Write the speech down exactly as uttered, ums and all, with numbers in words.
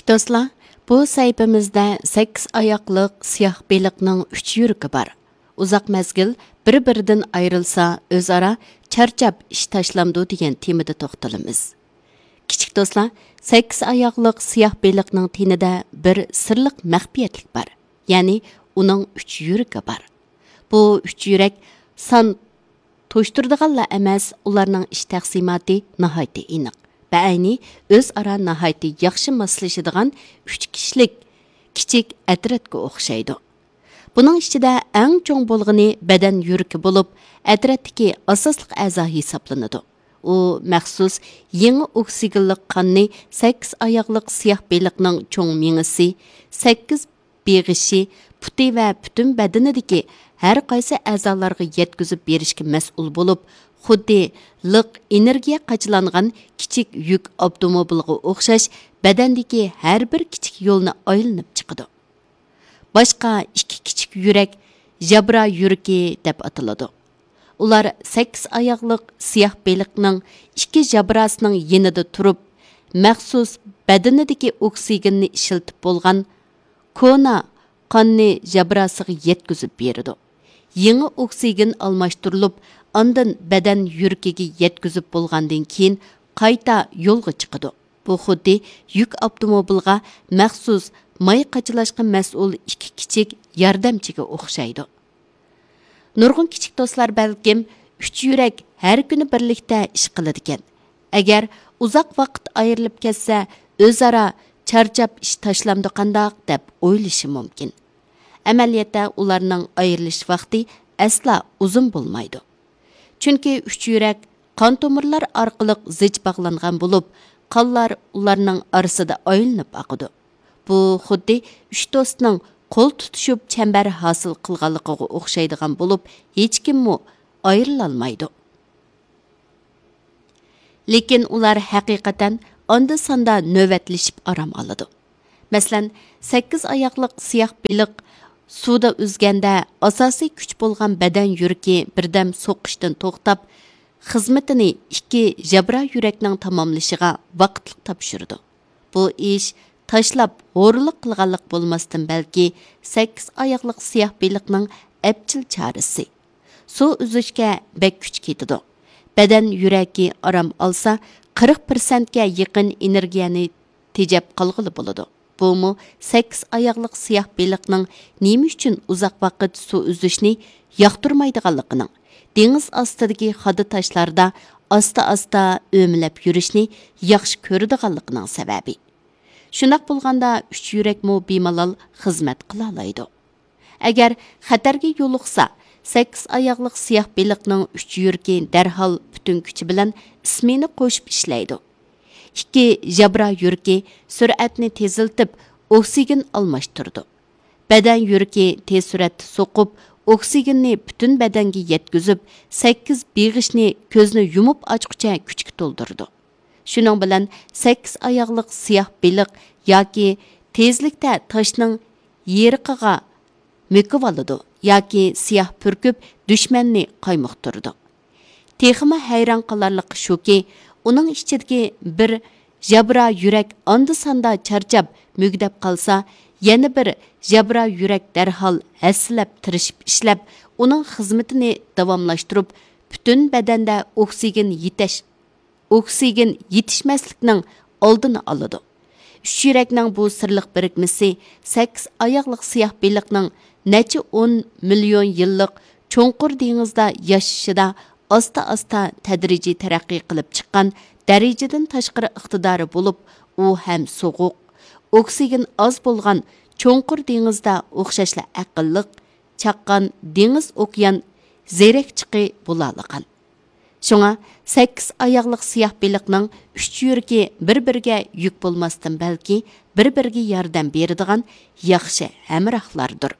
دوستلار، بۇ سەھىپىمىزدە سەككىز ئاياقلىق سىياھ بېلىقنىڭ ئۈچ يۈرىكى بار. ئۇزاق مەزگىل بىر-بىرىدىن ئايرىلسا، ئۆزئارا چارچاپ ئىش تاشلامدۇ دېگەن تېمىدا توختىلىمىز. كىچىك دوستلار، سەككىز ئاياقلىق سىياھ بېلىقنىڭ تېنىدە بىر سىرلىق مەخپىيەتلىك بار. يەنى ئۇنىڭ ئۈچ يۈرىكى بار. بۇ ئۈچ يۈرەك سان توشتۇرىدىغانلا ئەمەس، ئۇلارنىڭ ئىش تەقسىماتى ناھايىتى ئېنىق. بەئەينى ئۆزئارا ناھايىتى ياخشى ماسلىشىدىغان ئۈچ كىشىلىك كىچىك ئەترەتكە ئوخشايدۇ. بۇنىڭ ئىچىدە ئەڭ چوڭ بولغىنى بەدەن يۈرىكى بولۇپ، ئەترەتتىكى ئاساسلىق ئەزا ھېسابلىنىدۇ. ئۇ مەخسۇس يېڭى ئوكسىگېنلىق قاننى سەككىز ئاياغلىق سىياھ بېلىقنىڭ چوڭ مېڭىسى، سەككىز بېغىشى، پۇتى ۋە پۈتۈن بەدىنىدىكى ھەر قايسى ئەزالارغا يەتكۈزۈپ بېرىشكە مەسئۇل بولۇپ، خۇددى لىق ئېنېرگىيە قاچىلانغان كىچىك يۈك ئاپتوموبىلىغا ئوخشاش بەدەندىكى ھەر بىر كىچىك يولنى ئايلىنىپ چىقىدۇ. باشقا ئىككى كىچىك يۈرەك ژابرا يۈرىكى دەپ ئاتىلىدۇ. ئۇلار سەككىز ئاياغلىق سىياھ بېلىقنىڭ ئىككى ژابراسىنىڭ يېنىدا تۇرۇپ، مەخسۇس بەدىنىدىكى ئوكسىگېننى ئىشلىتىپ بولغان كونا قاننى ژابراسىغا يەتكۈزۈپ بېرىدۇ. يېڭى ئوكسىگېن ئالماشتۇرۇلۇپ، ئاندىن بەدەن يۈرىكىگە يەتكۈزۈپ بولغاندىن كېيىن قايتا يولغا چىقىدۇ. بۇ خۇددى يۈك ئاپتوموبىلغا مەخسۇس ماي قاچىلاشقا مەسئۇل ئىككى كىچىك ياردەمچىگە ئوخشايدۇ. نۇرغۇن كىچىك دوستلار بەلكىم ئۈچ يۈرەك ھەر كۈنى بىرلىكتە ئىش قىلىدىكەن. ئەگەر ئۇزاق ۋاقىت ئايرىلىپ كەتسە، ئۆزئارا چارچاپ ئىش تاشلامدۇ قانداق دەپ ئويلىشى مۇمكىن. ئەمەلىيەتتە ئۇلارنىڭ ئايرىلىش ۋاقتى ئەسلا ئۇزۇن بولمايدۇ. چۈنكى ئۈچ يۈرەك قان تومۇرلار ئارقىلىق زىچ باغلانغان بولۇپ، قانلار ئۇلارنىڭ ئارىسىدا ئايلىنىپ ئاقىدۇ. بۇ خۇددى ئۈچ دوستنىڭ قول تۇتۇشۇپ چەمبەر ھاسىل قىلغانلىقىغا ئوخشايدىغان بولۇپ، ھېچكىممۇ ئايرىلالمايدۇ. لېكىن ئۇلار ھەقىقەتەن ئاندا-ساندا نۆۋەتلىشىپ ئارام ئالىدۇ. مەسىلەن، سەككىز ئاياقلىق سىياھ بېلىق سۇدا ئۈزگەندە، ئاساسىي كۈچ بولغان بەدەن يۈرىكى بىردەم سوقۇشتىن توختاپ، خىزمىتىنى ئىككى ژابرا يۈرەكنىڭ تاماملىشىغا ۋاقىتلىق تاپشۇرىدۇ. بۇ ئىش تاشلاپ ھورۇنلۇق قىلغانلىق بولماستىن، بەلكى سەككىز ئاياقلىق سىياھ بېلىقنىڭ ئەپچىل چارىسى. سۇ ئۈزۈشكە بەك كۈچ كېتىدۇ. بەدەن يۈرەكى ئارام ئالسا، قىرىق پىرسەنتكە يېقىن ئېنېرگىيەنى تېجەپ قالغىلى بولىدۇ. بۇمۇ سەككىز ئاياغلىق سىياھ بېلىقنىڭ نېمە ئۈچۈن ئۇزاق ۋاقىت سۇ ئۈزۈشنى ياقتۇرمايدىغانلىقىنىڭ، دېڭىز ئاستىدىكى خادا تاشلاردا ئاستا-ئاستا ئۆمىلەپ يۈرۈشنى ياخشى كۆرىدىغانلىقىنىڭ سەۋەبى. شۇنداق بولغاندا، ئۈچ يۈرەكمۇ بىمالال خىزمەت قىلالايدۇ. ئەگەر خەتەرگە يولۇقسا، سەككىز ئاياغلىق سىياھ بېلىقنىڭ ئۈچ يۈرىكى دەرھال پۈتۈن كۈچى بىلەن ئىسمېنا قوشۇپ ئىشلەيدۇ. ئىككى ژابرا يۈرىكى سۈرئەتنى تېزلىتىپ، ئوكسىگېن ئالماشتۇرىدۇ. بەدەن يۈرىكى تېز سۈرئەتتە سوقۇپ، ئوكسىگېننى پۈتۈن بەدەنگە يەتكۈزۈپ، سەككىز بېغىشنى كۆزنى يۇمۇپ ئاچقۇچە كۈچكە تولدۇرىدۇ. شۇنىڭ بىلەن سەككىز ئاياغلىق سىياھ بېلىق ياكى تېزلىكتە تاشنىڭ يېرىقىغا مۆكۈۋالىدۇ ياكى سىياھ پۈركۈپ، دۈشمەننى قايمۇقتۇرىدۇ. تېخىمۇ ھەيران قالارلىقى شۇكى، ئۇنىڭ ئىچىدىكى بىر ژابرا يۈرەك ئاندا-ساندا چارچاپ، مۈگدەپ قالسا، يەنە بىر ژابرا يۈرەك دەرھال ھەسسىلەپ تىرىشىپ ئىشلەپ، ئۇنىڭ خىزمىتىنى داۋاملاشتۇرۇپ، پۈتۈن بەدەندە ئوكسىگېن يېتەش-، ئوكسىگېن يېتىشمەسلىكنىڭ ئالدىنى ئالىدۇ. ئۈچ يۈرەكنىڭ بۇ سىرلىق بىرىكمىسى سەككىز ئاياغلىق سىياھ بېلىقنىڭ نەچچە ئون مىليون يىللىق چوڭقۇر دېڭىزدا ياشىشىدا ئاستا-ئاستا تەدرىجىي تەرەققىي قىلىپ چىققان دەرىجىدىن تاشقىرى ئىقتىدارى بولۇپ، ئۇ ھەم سوغۇق، ئوكسىگېن ئاز بولغان چوڭقۇر دېڭىزدا ئوخشاشلا ئەقىللىق، چاققان دېڭىز ئوكيان زېرەكچىقى بولالىغان. شۇڭا سەككىز ئاياغلىق سىياھ بېلىقنىڭ ئۈچ يۈرىكى بىر-بىرىگە يۈك بولماستىن، بەلكى بىر-بىرىگە ياردەم بېرىدىغان ياخشى ھەمراھلاردۇر.